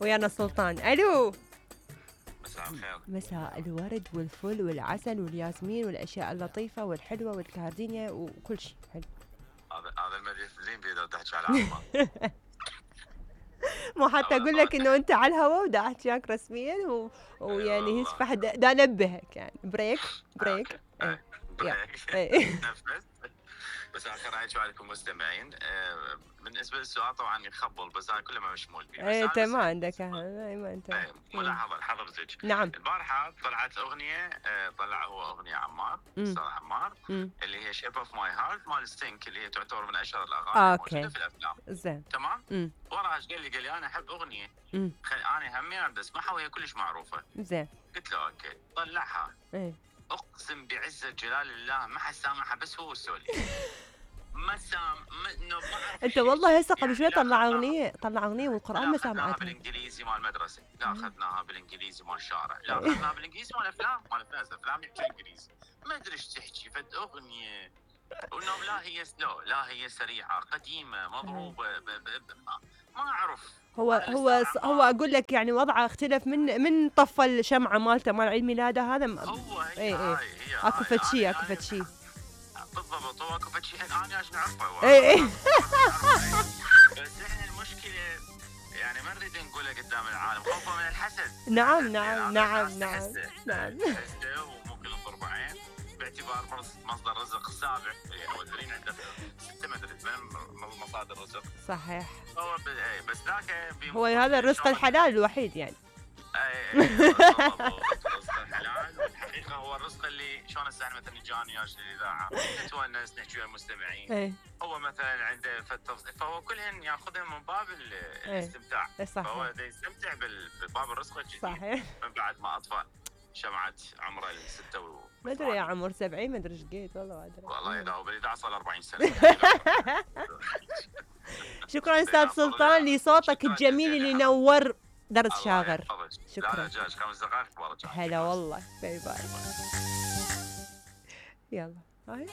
ويانا سلطان. الو. مساء الخير. مساء الورد والفل والعسل والياسمين والاشياء اللطيفه والحلوه والكاردينيا وكل شيء حلو. هذا المدير زين بيقدر تحكي على عمار. مو حتى اقول لك انه انت على الهواء ودا احكيك رسميا ويعني هيك فحد دا انبهك يعني بريك. بس اخر رايك عليكم مستمعين. بالنسبه للسؤال طبعا يخبل بس انا كله ما مشمول فيه. انت ما عندك ما انت ملاحظه حضرتك. نعم. البارحه طلعت اغنيه طلع هو اغنيه عمار استاذ عمار اللي هي شيب اوف ماي هارت مال ستينك اللي هي تعتبر من اشهر الاغاني الموجوده في الافلام. زين تمام. وراها قال لي انا احب اغنيه انا همي اريد اسمعها وهي كلش معروفه. زين قلت له اوكي طلعها. اقسم بعزه جلال الله ما حد سامعها بس هو السولي. ما انت والله هسه قبل شوي طلع اغنيه والقران ما سامعتها. اخذناها بالانجليزي مال المدرسه، لا اخذناها بالانجليزي مال الشارع، لا اخذناها بالانجليزي مال الافلام، افلام يحكي انجليزي، ما ادري ايش تحكي فد اغنيه وانه لا هي سلو لا هي سريعه قديمه مضروبه ما اعرف. هو اقول لك يعني وضعه اختلف من طفى الشمعه مالته مال عيد ميلاده هذا. هو هي اكو فد شيء بالضبط. هو اكو فد شيء انا عشان نعرفه. بس احنا المشكله يعني ما نريد نقولها قدام العالم خوفا من الحسد. نعم حسده وممكن نضرب عين باعتبار مصدر رزق السابع يعني مدرين عنده 6 مدري 8 مصادر رزق. صحيح. هو بس ذاك هو هذا الرزق الحلال الوحيد يعني. الرزق الحلال والحقيقه هو الرزق اللي شلون هسه احنا مثلا جاني يا الاذاعه نتونس نحكي ويا المستمعين. هو مثلا عنده فهو كلهن ياخذهم من باب الاستمتاع. فهو يستمتع بباب الرزق الجديد. صحيح. من بعد ما اطفى شمعة عمره الستة ما ادري يا عمر 70 ما ادري ايش قيت والله ما ادري. والله اذا هو بالاذاعه صار 40 سنه. شكرا استاذ سلطان لصوتك الجميل اللي نور درس شاغر. شكرا. هلا والله. باي باي. يلا هاي